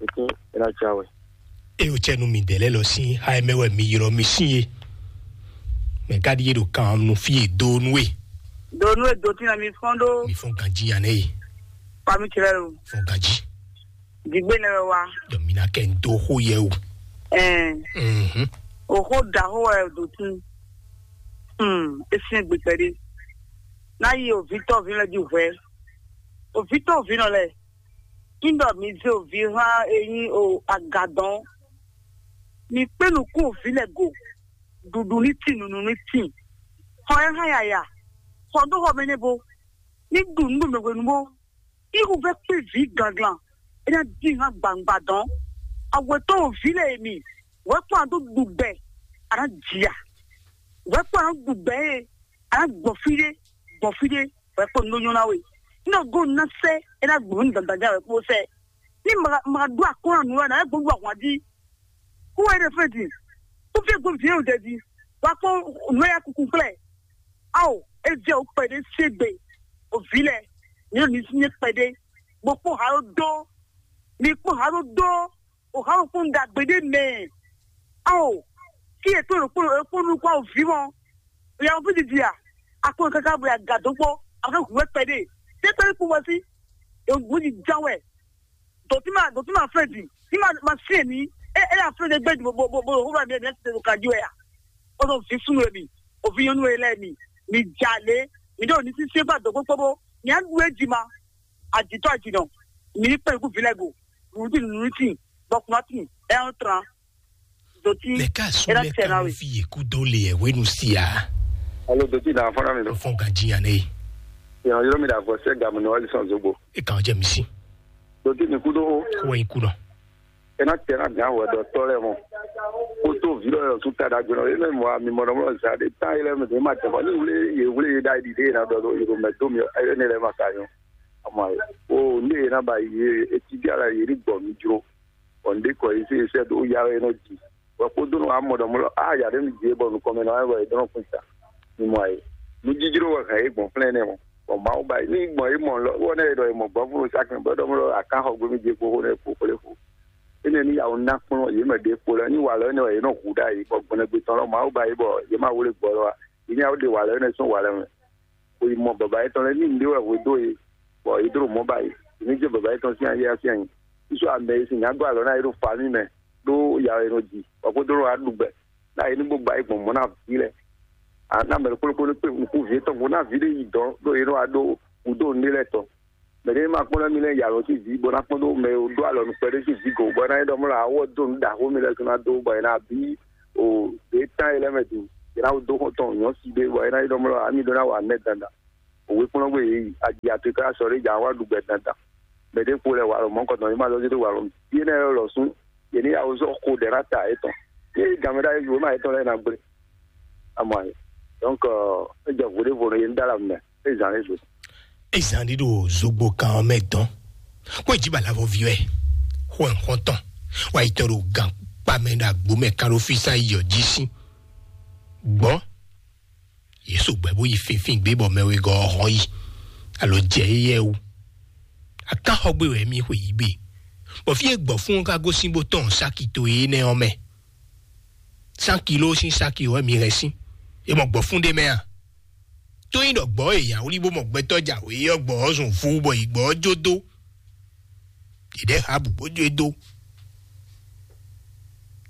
Etí é ná cá wɛ. Eye wòtsɛ nú mi ɖe lɛ́ lɔ sín xá e mɛ wɛ mi ylɔ́ mi sín é. Mɛ ka ɖíe ɖo kan nu fí e dó nú e. Donu e do tina mi fɔn ɖo Mi fɔn ganjí ya nɛ e. Pami tirɛ lo. Fɔn ganjí. Digbe nɛ wɛ wa. Dɔ mi na kɛ n dó xó yɛ o. Ɛn. Mhm. Oxo da xó wɛ do tun. Hmm, esin gbe kpɛɖe. Na yi o vitɔ vi lɛ di hwɛ. O vitɔ vi nɔ lɛ. Ŋdɔ mi ze o vi hã enyi o agadɔn. Mi kpe nukun o vi lɛ go. Ɖuɖu ní tin, nunu ní tin. Xɔ ɛ hã yaya. Xɔ dó xɔ mɛ nɛ bo. Ní ɖu nǔ ɖo mɛ hwenu bó. Ihu vɛ kpé vǐ ganglan, é ná dín hán gbangba dɔn. Awetɔ o vǐ lɛ e mi, wɛ kpɔn a dó ɖu gbɛ, a ná jia. Wɛ kpɔn a dó ɖu gbɛ e, a ná gbɔ fí ɖé, gbɔ fí ɖé, wɛ kpɔn nɔ nyɔ ná we. Nɔ go ná sɛ, é ná gbɔ ní dandan wɛ kpó sɛ. Ní ma ma ɖu akɔn anu wɛ ná gbɔ ɖu ahwan jí. Kó wɛ ɖe fɛ di. Kó fɛ gbɔ vǐ o dɛ di. Wa kpɔn nɔ ya kuku kplɛ. Ao, é jɛ wǔ kpɛɖé sín gbe, o vǐ lɛ́ɛ, mi ɖo ní sín kpɛɖé, bó kpɔ́n ha ɖó dó, mi kpɔ́n ha ɖó dó, o ha ɖó kpɔ́n ɖagbe ɖé mɛ. Ao, fí e tó ɖokpó ɖokpó nukún ao vǐ mɔ, o ya fí didi a, a kpɔ́n káká bo ya ga dó kpɔ́, a fẹ́ hu wɛ kpɛɖé, tɛ kpɛɖé kpó wɛ sí, e wǔ di ján wɛ. Dɔ̌tí ma dɔ̌tí ma flɛ́ din, tí ma ma syɛ́n ní, é é ná flɛ́ ɖé gbé bo bo bo bo hó ba mi ẹ̀ ti ɖo kají wɛ a? Ó sɔ vǐ súnnu e mi, o vǐ nyɔ́nú e lɛ́ɛ mi, mi ja lě, mi ɖo ní sísí gba dɔ̌ kpókpó bó, mi á ɖu é jí ma, àjǐtɔ́ àjǐnɔ, mi ní kpɛ́n kú vǐ lɛ́ɛ go, nǔɖuɖu nǔɖuɖu, bɔkùnrin ɛ ń tran, dɔ̌tí Lɛ ka su é ná lɛ tɛ ka ná nu we. Fi yě kú dó le ɛ wénu si a. Alo dɔ̌tí ná fɔ́n ná mi lɔ. Fɔn ka jí yan ne. Yàn yɔrɔ mi ɖe avɔ sɛ gamu ní wali sɔn zogbo. E kan jɛ mi si. Dɔ̌tí mi kú dó hó. Kó wɛ ikú nɔ. Ena tɛ na gán wɛ dɔ tɔ lɛ mɔ. Kótó vi lɔ yɔ tún ta ɖagbe nɔ. Ena mɔ ami mɔ nɔmɔ zan ɖe tán yɛ lɛ mɛ ma tɛ bɔ ni wuli ye wuli ye da yi ɖiɖe na dɔ do yoro mɛ do mi ɛ ne lɛ ma ka nyɔ. Ama ye. O ne ye na ba ye eti bi ala ye ni gbɔ mi jro. Bɔ n de kɔ ye se sɛ do ya ye nɔ di. Bɔ kpódó nɔ amɔ dɔ mɔ lɔ a ya ɖe mi di bɔ nukɔmɛ na wɛ bɔ ye dɔn kun ta. Mi mɔ ye. Nu jijro wɛ hɛn ye gbɔn flɛn nɛ mɔ. Bɔ Mawu ba ni gbɔn ye mɔ lɔ wɔ ne ye dɔ ye mɔ gbɔn fún sa kɛn bɔ dɔ mɔ lɔ akan xɔ gbe mi je kpo xo ne kpo kple fo. Ene ní yawo ná kplɔ́n yě mɛ ɖě kpo lɛ́ɛ ní walɔ énɛ́ wɛ yě nɔ hu ɖ'ayǐ, bɔ gbɔnɛgbetɔn lɔ Mawu ba yí bɔ yě ma wlé gbɔ lɔ ǎ. Yě ní yawo ɖe walɔ énɛ́ sín walɛ mɛ, bó yi mɔ baba yětɔn lɛ́ɛ ní nǔɖé wɛ hwedó yě, bɔ yě dó ɖo mɔ̌ ba yě. Yě ní jɛ baba yětɔn sín ayé ɔ́ sín ayǐ. Yísú amɛ e sin nyǎ gɔ́ alɔ ná yě ɖo fa mì mɛ, ɖó ya wɛ è nɔ ji, bɔ xwedó nɔ wá ɖu gbɛ, ná yě ní bó ba yí gbɔn mɔ̌ ná vǐ lɛ́ɛ. A ná mɛ ɖokpó ɖokpó ní kpé nukún vǐ étɔn gbo ná vǐ ɖé yi dɔ̌n, ɖó yě nɔ wá ɖó gǔdo nǔɖé lɛ́ɛ tɔn. Mɛ ɖé ma kpɔ́n ná mi lɛ́ɛ yi alɔ sín vǐ, bó ná kpɔ́n ɖó mɛ e ɖó alɔ nukpɛ ɖé sín vǐ go, bɔ é ná nyí ɖɔ mɔ lǎ wɔ dó nǔ ɖaxó mi lɛ́ɛ sɔ́ ná dó, bɔ è nǎ bí o ɖě tán e lɛ́ɛ mɛ din, è nǎ dó xɔ́ntɔn nyɔ̌si ɖé, bɔ é ná nyí ɖɔ mɔ ami ɖó ná wa mɛ dandan. Òwe kplɔ́n gbé yě yi, aji atoká sɔ ɖé jà wá ɖu gbɛ dandan. Mɛ ɖé kpo lɛ walɔ mɔ̌ kɔtɔn, yě ma zɔ́ dó walɔ mɛ. Yé nɛ lɔ sún, yě ní yà wó zɔ xo ɖɛ ná ta yětɔn. Yé gamɛ ɖá yé ma yětɔn lɛ́ɛ ná gblé. Amɔ ayé. Donc, euh, é jɛ vodé vo yé ní dá la mɛ, é zan yé zo. Ezan ɖi ɖo zogbo kan ɔ́ mɛ dɔn. Kó ìjì bàlá vɔ viwɛ, xó ẹ̀ xɔ́ntɔn, wá yi tɔn ɖo gan kpa mɛ ɖo agbo mɛ kan ɖo fí sá yi ɔ́ jí sí. Gbɔn Yesu gbɛ bó yi finfin gbé bɔ mɛ wegɔ́ ɔ́ hɔn yi, alo jɛ éyɛ́ wú. Akán xɔ gbé wɛ mì xwe yí gbe, bɔ fí e gbɔ̌ fún ɔ́ ka gosín bó tɔn sáki to énɛ́ ɔ́ mɛ. Sán kiló sín sáki wɛ mi hɛn sín, é mɔ gbɔ̌ fún ɖé mɛ a? Tó nyí ɖɔ gbɔ̌ e nya wlí bó mɔ gbɛtɔ́ jǎwe ɔ́ gbɔ̌ ɔ́ zun vú bɔ yi gbɔ̌ ɔ́ jó dó. Yě ɖɛ́ há bǔ bó jó e dó.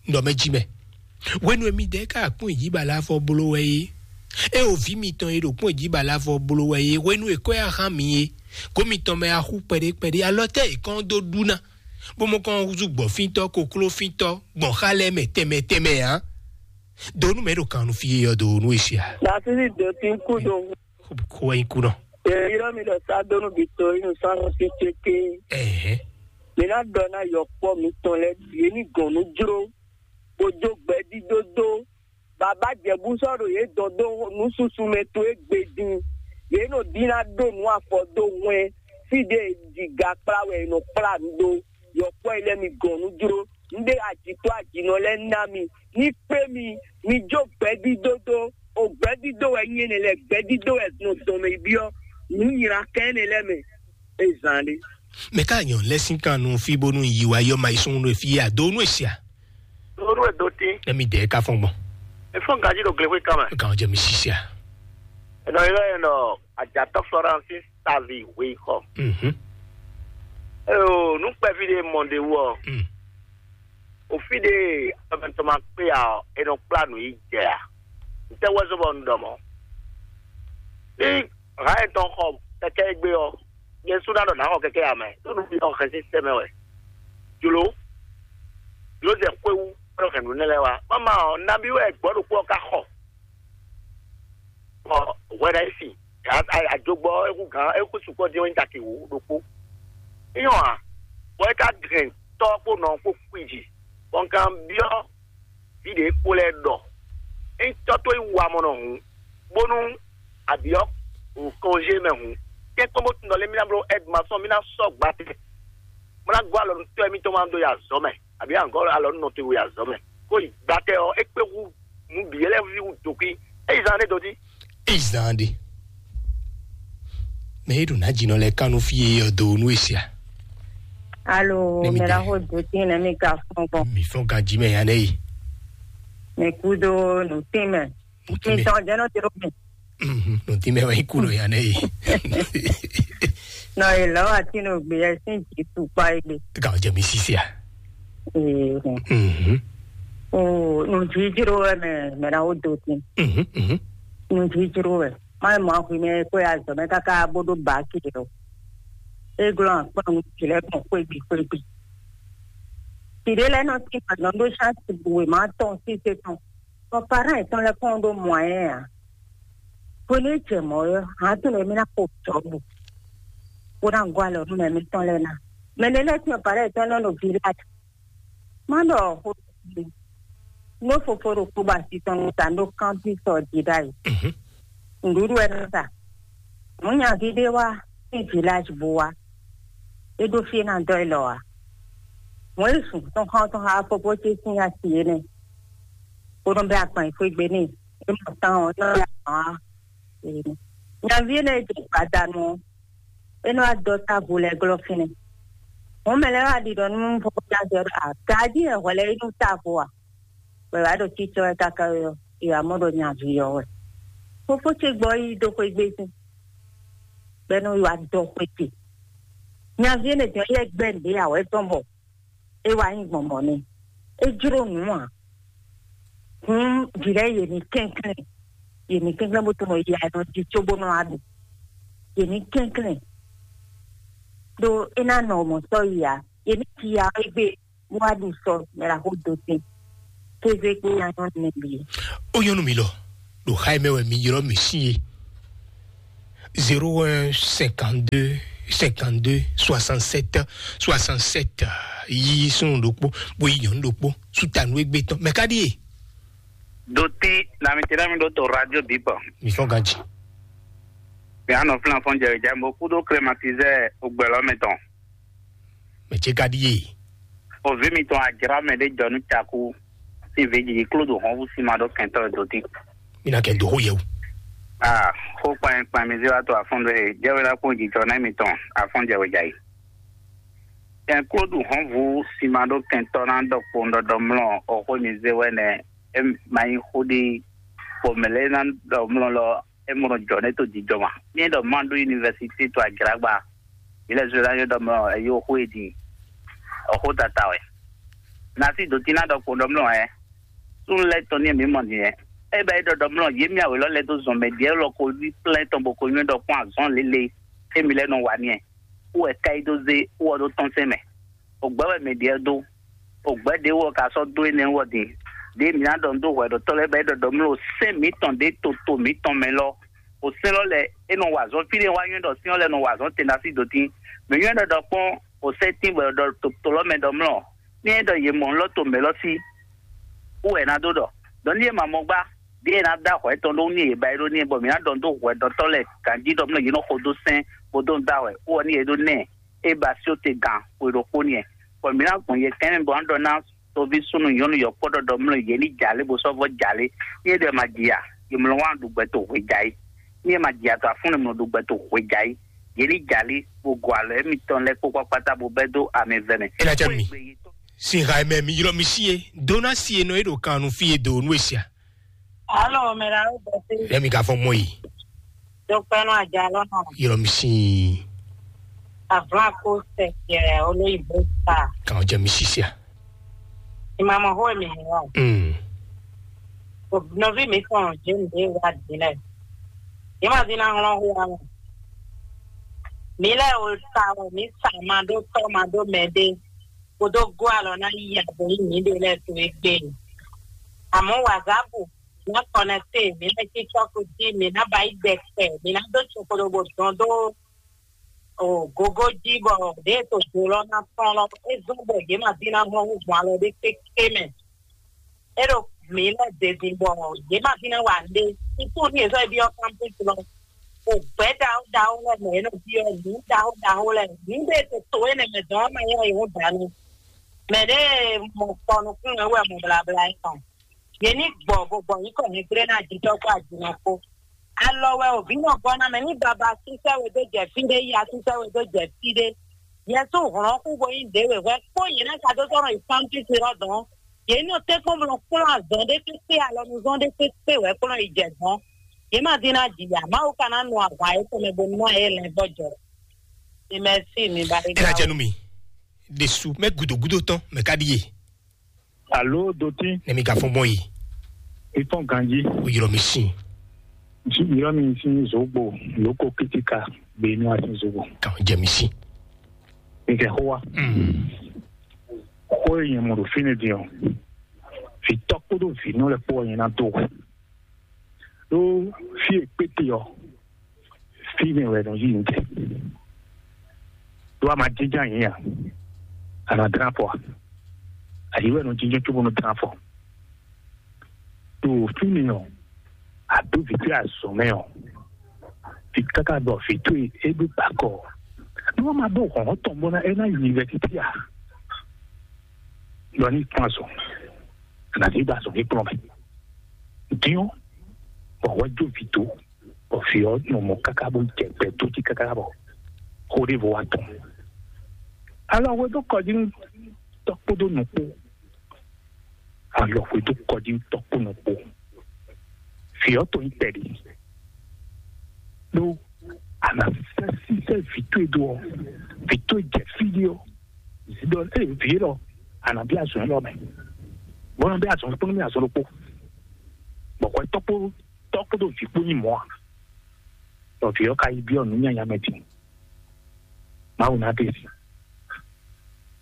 Un ɖɔ mɛ jí mɛ. Hwenu e midɛɛ ka kpɔ́n jí ba lɛ́ afɔ bló wɛ é, é o vǐ mitɔn e ɖo kpɔ́n jí ba lɛ́ afɔ bló wɛ é, hwenu e kɔ́ yá hán mi é, gǒ mitɔn mɛ axú kpɛɖé kpɛɖé, alɔ tɛ́ è kɔn dó ɖu ná, bó mɔ kɔn húzú gbɔ̌fíntɔ́, koklófíntɔ́, gbɔn xá lɛ́ɛ mɛ tɛnmɛ tɛnmɛ ǎ. Donu mɛ ɖo kan nu fí é ɔ́, donu e sia. Nasisi doti kudo. Ko wɛ nyi kunɔ. Yrɔ mi ɖɔ sa donu bi to inu sannu si tete. Ɛhɛn. Mi na ɖɔ na yɔkpɔ mitɔn lɛ bie ni gɔn nu jro. Bo jo gbɛ di dodo. Baba jɛbu sɔ ɖo ye dɔn do nu susu mɛ to e gbe din. Ye no di na ɖo nu afɔ do hwɛn. Fi de diga kpla wɛ e nɔ kpla nu do. Yɔkpɔ yi lɛ mi gɔn nu jro. Un ɖe ajitɔ ajinɔ lɛ ná mi. Ní kpé mi, mi jó gbɛdídó dó. O gbɛdídó wɛ nyí énɛ́ lɛ, gbɛdídó wɛ nɔ dɔn mɛ yi byɔ́ nǔ nylá kɛn énɛ́ lɛ mɛ. E zan ɖé. Mɛ ká nyɔ lɛ sín kan nu fí bónú yi wa yɔ ma yi sún nú fí a do nú esia. Lóru e do tí. Emi dɛ ka fɔn gbɔn. E fɔn gaji ɖo glexwe kan mɛ. Kan jɛ mi sisia. Enɔ yi lɔ enɔ ajatɔ Florence savi wei xɔ. Mhm. Eyo, nu kpɛvi ɖe mɔ ɖe wɔ. Mm. Ofi ɖe amɛtɔ ma kpe ya ɔ, e nɔ kpla nǔ yi jɛ a? Ntɛ wɛ zɔn bɔ un ɖɔ mɔ? Ní ha etɔn xɔ kɛkɛ egbe ɔ, nyɛ su na ɖɔ na xɔ kɛkɛ ya mɛ, ɖo nu fi ɔ xɛsi sɛ mɛ wɛ. Jlo, jlo zɛ xwéwu, kpɔɖɔ hɛn nǔ nɛ lɛ wa. Mama ɔ, nabi wɛ gbɔ ɖokpó ɔ ka xɔ. Bɔ hwɛ ɖa yi sin, ajogbɔ eku gán eku sukpɔ dín wɛ nyí taki wú ɖokpó. Nyɔ a, bɔ é ka gɛn tɔ kpó nɔ kpó kpi jí, bɔ un kan byɔ́ vǐ ɖě kpó lɛ́ɛ ɖɔ: "Ényí tɔ́ towe wú amɔnɔ hǔn, bónú a byɔ́ kɔnzé mɛ hǔn, kɛ́nkɔ́n bó tunɔ lé mí ná bló ɛ́dmasɔn, mí ná sɔ́ gbatɛ, bó ná gɔ́ alɔ nú tɔ́ émítɔn ma dó yi azɔ̌ mɛ, abǐ a gɔ́ alɔ nú nɔ towe yi azɔ̌ mɛ, kó yi gbatɛ ɔ́, é kpé hú nǔ bǐ lɛ́ɛ ví hú dǒkwí." É yi zán ɖé dó jí. É yi zán ɖé. Mɛ é ɖo nǎ jǐnɔ lɛ́ɛ ká nú fí e ɔ do nú e sia. Alo, mɛ la xo do tín nɛ mi ka fɔn gbɔn. Mi fɔn ganjí mɛ ya nɛ yi. Mi kú dó nǔtín mɛ. Nǔtín mɛ. Mi tɔn jẹ́ nɔ tiro mi. Mhm, nǔtín mɛ wɛ nyí kú nɔ ya nɛ yi. Nɔ yi lɔ wa tín nɔ gbé yɛ sín jǐ tukpa yi gbé. Gǎn jɛ mi sísí a. Ee. Mhm. O nǔjíjíró wɛ mɛ mɛ na wo do tín. Mhm, mhm. Nǔjíjíró wɛ. Má mɔ ahwi mɛ kó ya zɔ mɛ káká bó ɖó bǎ kiri o. É glɔ́n akpɔ́n nú jǐ lɛ́ɛ gbɔn xwégbí xwégbí. Jǐ ɖé lɛ́ɛ nɔ tín gbadɔn ɖó ṣáàtì bǔ wěma tɔn sí sé tɔn. Bɔ parán yětɔn lɛ́ɛ kɔn ɖó mɔ̌yɛn ǎ. Hwenu e jɛ mɔ̌ ɔ́, hǎn tɔn lɛ́ɛ mì ná xo jɔ̌bu, bó ná gɔ́ alɔ nú mɛ mǐtɔn lɛ́ɛ ná. Mɛ lɛ́ɛ lɛ́ɛ tɔn parán yětɔn lɛ́ɛ nɔ ví lát. Má ɖɔ xó nú fofo ɖo kpóbɔ asi tɔn nú ta ɖó kántín sɔ jí ɖ'ayǐ. Mhm. Nǔɖuɖu wɛ nɔ sa. Mɔ̌ nyaví ɖé wá sín viláž bó wá. É ɖó fí é ná dɔ́ élɔ́ ǎ. Mɔ̌ é zun tɔn xá tɔn xá fofó ce sín asi énɛ́. Bó nɔ bɛ́ agban yi xwé gbe n'i. É mɔ tán ɔ́, é nɔ bɛ́ agban wá. Nyaví énɛ́ e jɛ gbadanu ɔ́, é nɔ wá dɔ́ távo lɛ́ɛ glɔ́ fínɛ́. Mɔ̌ mɛ lɛ́ɛ wá ɖiɖɔ nú fofó ce ɔ́ ɖɔ: "Agají wɛ hwɛ lɛ́ɛ é nú távo a?" Bɔ è wǎ ɖo cícɔ́ wɛ káká ɔ́, è wǎ mɔ ɖɔ nyaví ɔ́ wɛ. Fofó ce gbɔ yi dó xwé gbé sín, bɔ é nɔ yi wá dɔ́ xwé ce. Nyaví énɛ́ tɔn yɛ gbɛ́ nǔɖé ǎ wɛ tɔn bɔ é wá nyí gbɔn mɔ̌ n'i. É jló nǔ ǎ. Hǔn vǐ lɛ́ɛ yě ní kɛnklɛ́n, yě ní kɛnklɛ́n bó tunɔ yi anɔ jí cóbó nɔ wá ɖu. Yě ní kɛnklɛ́n ɖó é ná nɔ mɔ̌ sɔ́ yi ǎ. Yě ní ji ya égbé bó wá ɖu sɔ mɛ la xó dó tɛn. Kéze kpó ya nyɔ́ nɛ bǐ. Ó nyɔ́ nú mi lɔ, ɖo xá e mɛ wɛ mi ylɔ́ mì sín é. Zéro un cinquante-deux cinquante-deux soixante-sept soixante-sept. Yi súnnu ɖokpó, bó yi nyɔ̌nu ɖokpó, sútanu égbé tɔn. Mɛ ká ɖíe? Dotí, na mi tɛ́ mi ɖó to radio bǐ kpɔ. Mi fɔ́n ganji. Mi anɔ flan fɔn jɛ ja mo kúdó climatiseur ogbɛlɔ mɛ tɔn. Mɛ ce ká ɖíe? Ovi mitɔn ajra mɛ ɖé jɔ nú caku. Sín vǐ jiji kló ɖo hɔnvú sín ma ɖó kɛntɔ́ e dotí. Mi ná kɛ dó xó yɛ o. Ah, xó kpanyɛ kpanyɛ mi zé wá to afɔn ɖé, jɛ wɛ la kpɔn jijɔ nɛ mitɔn afɔn jɛ wɛ ja yi. Kɛn kló ɖu hɔnvú sín ma ɖó kɛntɔ́ ná ɖɔ kpɔn ɖɔɖɔ mlɔ o xó mi zé wɛ nɛ. E ma nyí xó ɖi, bɔ mɛ lɛ ná ɖɔ mlɔ lɔ. É mɔ jɔ nɛ́ to jijɔ ma. Mí ɖɔ má ɖó université to Agragba. Mí lɛ́ zɔ́ ná nyɔ́ ɖɔ mɔ ɛyó xó e din. Ɔxó tata wɛ. Na sí dǒtín ná ɖɔ kpo ɖɔ mlɔ ɛ. Súnnu lɛ́ tɔn ní mǐ mɔ din ɛ. É bɛ é ɖɔ ɖɔ mlɔ yě mí awě lɔ lɛ́ dó zɔn mɛ ɖiɛ lɔ ko yí plɛ́n tɔn bɔ ko nyɔ́ ɖɔ kpɔ́n azɔn lélẹ̀. É mí lɛ́ nɔ wa ní ɛ. Kú wɛ ká yi dó zé wɔ ɖó tɔn sɛn mɛ. Ògbɛ́ wɛ mɛ ɖiɛ dó. Ògbɛ́ ɖě wɔ ka sɔ́ dó énɛ́ wɔ din. Ɖě mǐ ná ɖɔ nú dó hwɛɖɔtɔ́ lɛ́ɛ bɔ é ɖɔ ɖɔ mlɔ sɛ́n mǐtɔn ɖě toto mǐtɔn mɛ lɔ. O sɛ́n lɔ lɛ é nɔ wa azɔn fí ɖé wá nywɛ́ ɖɔ sɛ́n ɔ́ lɛ nɔ wa azɔn tɛn ɖo así dǒ tín. Mɛ nywɛ́ ɖɔ ɖɔ kpɔ́n o sɛ́n tín bɔ è ɖɔ to to lɔ mɛ ɖɔ mlɔ. Ní é ɖɔ yě mɔ lɔ to mɛ lɔ sí. Wú wɛ è nǎ dó ɖɔ. Ɖɔ ní é ma mɔ gbá, ɖěe è nǎ dó ahwɛ tɔn ɖó ní yě ba é ɖó ní é bɔ mǐ ná ɖɔ nú dó hwɛɖɔtɔ́ lɛ́ɛ ganjí ɖɔ mlɔ yě nɔ xo dó sɛ́n bó dó nú dó ahwɛ. Wú ɔ ní é ɖó nɛ́ é ba sí te gan xwe ɖokpó n'i. Bɔ mǐ ná gbɔn yɛ kɛnɛ bɔ ná ɖɔ ná toví súnnu nyɔ̌nu yɔ̌kpɔ́ ɖɔɖɔ mlɔ yě ní jalé bó sɔ́ vɔ́ jalé. Ní é ɖɔ ma ji a, yě mlɔ wá ɖu gbɛ to hwe ja yí. Ní é ma ji a to afúnlɛ mlɔ ɖu gbɛ to hwe ja yí. Yě ní jalé bó gɔ alɔ émítɔn lɛ́ɛ kpó kpákpátá bó bɛ́ dó amɛ vɛ mɛ. É ná jɛ nú mi. Sin ha mɛ mi ylɔ́ mi sí e dó ná sí e nɔ é ɖo kan nú fí e do nú e sia. Alo, mɛ la ó bɛtɛ. Yɛ mi ka fɔ mɔ yi. Dɔkpɛnɔ àjálọ náà. Ylɔ́ mi sí. Àbúrò kó sẹ̀kẹ̀ olóyìnbó ta. Kàn jẹ́ mi sí sia. Ìmọ̀mọ̀ hó èmi hàn wá. Mm. Nɔví mi kàn jẹ́ mi dé wá dílẹ̀. Yìí mà dín náà hlɔ́n hó wa. Mi lɛ o ta wɛ mi sa ma ɖó tɔ́ ma ɖó mɛ ɖé. Kó dó gɔ́ alɔ ná yí ya bɔ yí mǐɖée lɛ́ɛ to égbé. Àmọ́ wazǎpu, mǐ ná kɔnɛkte, mǐ ná cí cɔ́fu jí, mǐ ná ba yí ɖɛkpɛ, mǐ ná dó cokoɖobo dɔn dó o gogo jí bɔ ɖěe to do lɔ ná tɔn lɔ, é zɔ́n bɔ yě ma dín ná hlɔ́n hú gbɔn alɔ ɖé kéké mɛ. É ɖo mǐ lɛ́ zezin bɔ yě ma dín ná wa nǔɖé. Suku ní yě sɔ́ byɔ́ kámpus lɔ. O gbɛ̌ ɖaxó ɖaxó lɛ́ɛ mɛ yě nɔ byɔ́ nǔ ɖaxó ɖaxó lɛ́ɛ. Nǔ ɖé e to to énɛ́ mɛ dɔn ɔ́ ma nyɔ́ yě hɔn dǎ nú. Mɛ ɖě mɔ kpɔ nukún wɛ wɛ mɔ blabla é tɔn. Yě ní gbɔ bó gbɔ nyǐkɔ nyɛgblé ná jitɔ́ kpó ajinɔ kpó. Alɔ wɛ o vǐ nɔ gɔ́ ná mɛ ní baba sísɛ́ we dó jɛ fí ɖé, ya sísɛ́ we dó jɛ fí ɖé. Yɛsú hlɔ̌n kú bo nyí ɖě wěhwɛ́ kpó yě ná ka dó sɔ́ nɔ yi Pɔntísi lɔ dɔn. Yě nɔ tɛ́nkpɔ́n blɔ kplɔ́n azɔn ɖé kpékpé alɔnuzɔn ɖé kpékpé wɛ kplɔ́n yi jɛ dɔn. Yě ma dín ná ji ya. Mawu ka ná nu ahwan yětɔn mɛ bo nɔ yě lɛn vɔ́ jɔ. Mimɛsi mi ba é ná jɛ nú mi. Ɖesu mɛ gudo gudo tɔn mɛ ka ɖi ye. Alo dotín. Ne mi ka fɔn bɔ yi. Ifɔn ganji. O yɔrɔ mi sin. Ntsi yɔrɔ mi sin zogbo lóko kítíka gbé inú asin zogbo. Kàn jẹ mi sin. Ìkẹ́ xó wa. Mm. Xó e nyɛ mɔ ɖo fínɛ́ din ɔ́, vǐ tɔ́ kpódó vǐ nɔ lɛ́ɛ kpó ɔ́ nyɛ ná dó wɛ. Ɖó fí e kpéte ɔ́, fínɛ́ wɛ nɔ yí ntɛ. Ɖó a ma jínjɔ́n ayǐ a, a nǎ dlán afɔ a? Ayǐ wɛ nɔ jínjɔ́n cóbó nɔ dlán afɔ. Ɖo fínɛ́ ɔ́, a dó vǐ towe azɔ̌ mɛ ɔ́, vǐ káká bɔ vǐ towe é ɖó gbakɔ. Nú wọ́n máa dó hɔ̌n tɔn bó ná é ná yi yunivɛsití a? Lɔ ní kplɔ́n azɔ̌, nǎ sí gba azɔ̌ ní kplɔ́n mɛ. Dín ɔ́, bɔ hwɛ jó vǐ dó, bɔ vǐ ɔ́ nɔ mɔ káká bó jɛ gbɛ dó jí káká bɔ xó ɖěvo wá tɔn. Alɔ hwe dó kɔ jí nú tɔ́ kpódó nǔ kpó. Alɔ hwe dó kɔ jí nú tɔ́ kpó nǔ kpó. Vǐ ɔ́ to nyí tɛɖi. Ɖó a nǎ sɛ́ sísɛ́ vǐ towe dó ɔ́, vǐ towe jɛ fí ɖé ɔ́, zǐ ɖɔ ée vǐ élɔ́, a nǎ bí azɔ̌ élɔ́ mɛ. Bɔ nɔ bí azɔ̌ kpó nú mì azɔ̌ ɖokpó. Bɔ hwɛ tɔ́ kpó tɔ́ kpódó vǐ kpó nyí mɔ̌ a? Bɔ vǐ ɔ́ ka yi byɔ́ nǔ nyanya mɛ din. Mawu ná ɖe si.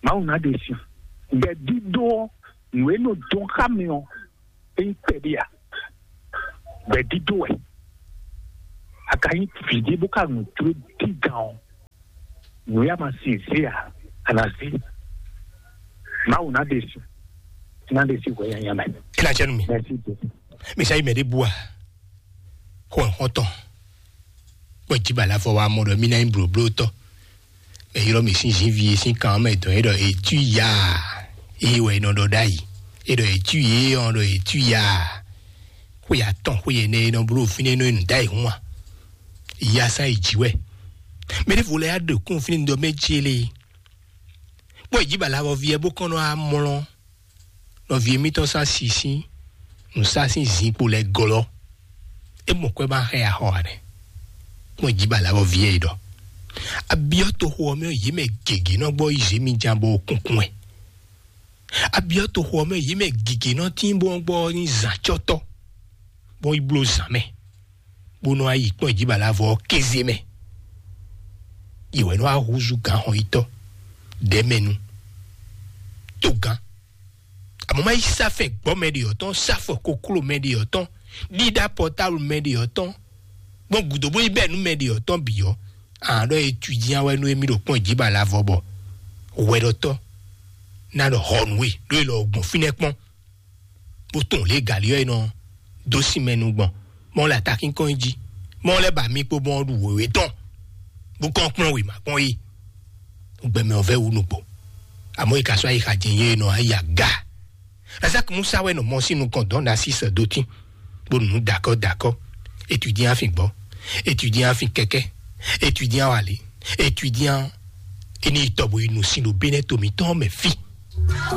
Mawu ná ɖe si. Gbɛ̌dídó ɔ́, nǔ e nɔ dɔn xá mi ɔ́, é nyí kpɛɖé a? Gbɛ̌dídó wɛ. A ka nyí vǐ ɖé bó ka nǔ jló dígan ɔ́, nǔ ya ma sin zé a, a nǎ zé. Mawu ná ɖe si. Ná ɖe si hwɛ nyanya mɛ. É ná jɛ nú mi. Mɛsi Jesu. Mi sa yi mɛ ɖé bua. Xɔ xɔtɔn. Kpɔ jiba la fɔ wa mɔ ɖɔ mi ná nyí blóblótɔ. Mɛ ylɔ mi sín zinvi e sín kan mɛ dɔn é ɖɔ etú ya. Eye wɛ nɔ ɖɔ ɖ'ayǐ. É ɖɔ etú ye ɔn ɖɔ etú ya. Xwe atɔn xwe ɛnɛ e nɔ bló fínɛ́ nɔ nǔ ɖ'ayǐ hún a? Ya sán yi jǐ wɛ. Mɛ ɖěvo lɛ́ɛ ɖo kún fínɛ́ nɔ mɛ jí lé. Kpɔ jiba la fɔ vi ɛ bó kɔn nɔ amlɔ. Nɔví émítɔn sá sísí nǔsá sín zinkpo lɛ́ɛ glɔ́. É mɔ kwɛ ma xɛ axɔ ane. Kpɔn jí bala vɔ viɛ yi ɖɔ. Abiɔ toxo ɔ́ mɛ yě mɛ gěgé nɔ gbɔ yi zé mi jan bɔ kúnkún ɛ. Abiɔ toxo ɔ́ mɛ yě mɛ gěgé nɔ tín bɔ gbɔ ní zǎncɔtɔ, bɔ yi blo zǎn mɛ, bó nɔ yi kpɔn jí bala vɔ kéze mɛ. Yě wɛ nɔ wá húzú gǎn xɔ yítɔ́, ɖɛ̌mɛnu, togán. Àmọ́ má yí sáfɛ gbɔ́ mɛ ɖe ɔ́ tɔn, sáfɔ kokló mɛ ɖe ɔ́ tɔn, ɖíɖá pɔtáblu mɛ ɖe ɔ́ tɔn, gbɔn gǔdo bó yi bɛ́ nú mɛ ɖe ɔ́ tɔn bǐ ɔ́, àán ɖɔ étudiant wɛ nú émí ɖo kpɔ́n jí ba la vɔ bɔ hwɛɖɔtɔ́ ná ɖɔ hɔ nú we ɖó é lɔ gbɔn fínɛ́ kpɔ́n, bó tɔn lě gali ɔ́ é nɔ dó sin mɛ nu gbɔn, mɔ lɛ atakínkɔn jí, mɔ lɛ ba mi kpo bɔn ɖu wěwé tɔn, bó kɔn kplɔ́n wěma kpɔn yi. Gbɛmɛ ɔ́ vɛ wú nukpo, àmọ́ yi ka sɔ́ ayi xa jɛ yé nɔ ayi aga. Lazaki Musa wɛ nɔ mɔ sín nukɔn dɔn na sísɛ dó tín, bó nǔ dakɔ dakɔ, étudiant afin gbɔ, étudiant afin kɛkɛ, étudiant wali, étudiant eni tɔbu yi nu sin ɖo bénɛ tomi tɔn mɛ fi.